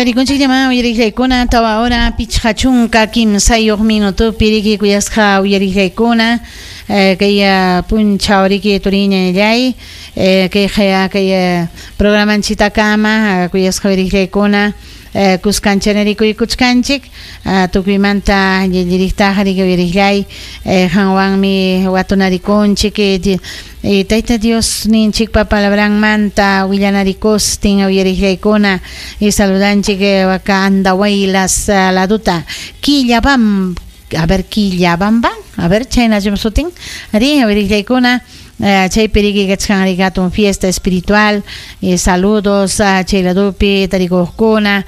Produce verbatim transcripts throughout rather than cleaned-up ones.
Tarikunchik llama uyariqllaykuna tawa hora pichqa chunka kimsayuq minutupi riki kuyasqa uyariqllaykuna kay punchaw riki turiñallay kay kay programanchitakama kuyasqa uyariqllaykuna kuskanchanerikuykuchkanchik tukuymanta llilliriktaqa riki uyariqllay hanwanmi watunarikunchik Tayta Dios ninchikpa palabranmanta willanarikustin uyariqllaykuna y saludanchik waka Andahuaylas laduta Quillabam a ver Quillabamba a ver chayna sutin ri uyariqllaykuna chaypi riki kachkan riki hatun fiesta espiritual y saludos a chay ladupi tarikuqkuna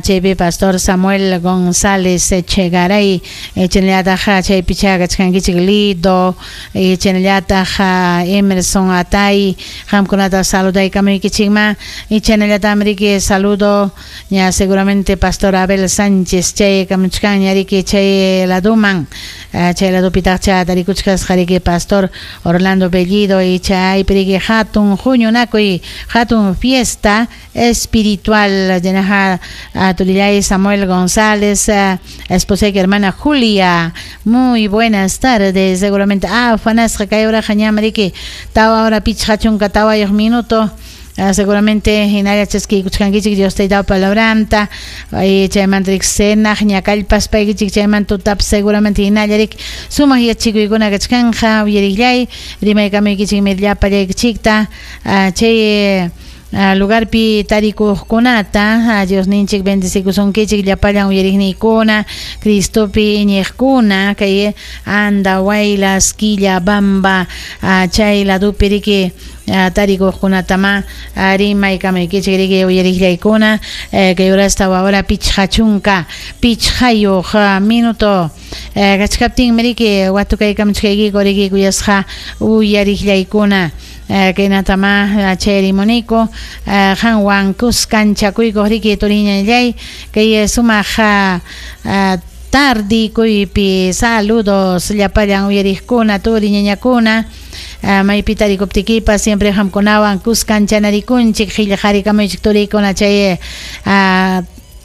chaypi pastor Samuel González Echegaray chaynallataq chaypi kachkankichik Lido chaynallataq Emerson Atay qamkunata saludaykamuykichikma y chaynallataq riki saludo ya seguramente pastor Abel Sánchez chay kamuchkanña riki chay laduman chay ladupitaq tarikuchkasqa riki pastor Orlando Bellido y chaypi riki hatun huñunakuy hatun fiesta espiritual llenaja turillay Samuel González esposa y hermana Julia muy buenas tardes seguramente ah fanasqa kay uraqa ñam riki tawa hora pichqa chunka tawayuq minuto seguramente hinalla chaskiykuchkankichik Dios taytapa palabranta chaymanta riki cenaq ñakallpaspaykichik chaymanta tutapas seguramente hinalla riki sumaq yachikuykuna kachkanja uyariqllay rimaykamuykichikmi llapallaykichikta chay lugarpi tarikuqkunata Dios ninchik bendecikusunkichik llapallan uyariqniykuna Cristopi iñiqkuna kay Andahuaylas Quillabamba chay ladupi riki tarikuqkunatama rimaykamaykichik riki uyariqllaykuna kay horas tawa hora pichqa chunka pichqayuq minuto kachkaptinmi riki watukaykamuchkaykiku riki kuyasqa uyariqllaykuna kaynatama chayrimuniku qanwan kuskanchakuykuq riki turiñallay kay sumaq tardikuypi saludos llapallan uyariqkuna turiñañakuna maypi tarikuptikipas siempre qamkunawan kuskanchanarikunchik qillqarikamuychik turikuna chay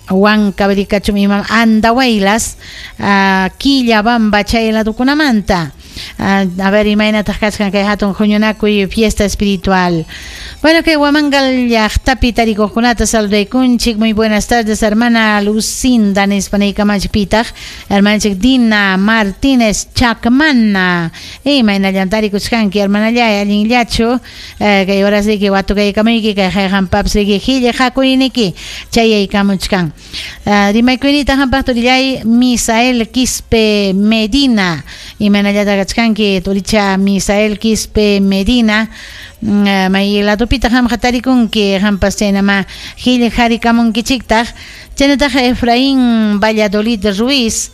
Huancavelicachum imam Andahuaylas Quillabamba chay ladukunamanta a ver imaynataq kachkan kay hatun huñunakuy fiesta espiritual. Bueno, que Huamangal llaqtapi tarikuqkunata saludaykunchik. Muy buenas tardes, hermana Lucinda nispanaykamachik pitaq hermanachik Dina Martínez Chacmana imaynallan tarikuchkanki hermanallay allinllachu kay horas riki watukaykamuyki kay hayqanpapas riki qillqakuyniki chayaykamuchkan. Rimaykuynita hampaq turillay Misael Quispe Medina imaynallata kachkanki turicha Misael Quispe Medina may ladupita qamqa tarikunki qampas chaynama qillqarikamunkichiktaq. Chaynataq Efraín Valladolid Ruiz,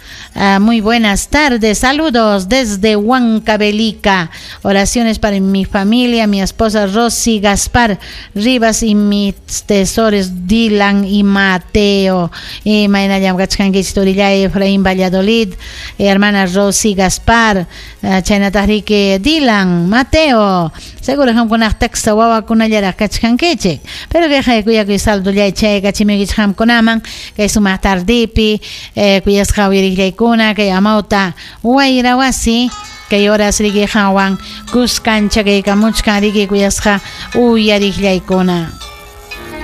muy buenas tardes, saludos desde Huancavelica, oraciones para mi familia, mi esposa Rosy Gaspar Rivas y mis tesores Dylan y Mateo. Y maynallam kachkankichik turillay Efraín Valladolid, hermana Rosy Gaspar, chaynataq riki Dylan, Mateo, seguro qamkunaq taksa wawakunallaraq kachkankichik, pero kay kuyakuy saludollay chaykachimuykichik qamkunaman kay sumaq tardipi kuyasqa uyariqllaykuna kay amawta wayrawasi kay horas riki qanwan kuskanchakaykamuchkan riki kuyasqa uyariqllaykuna.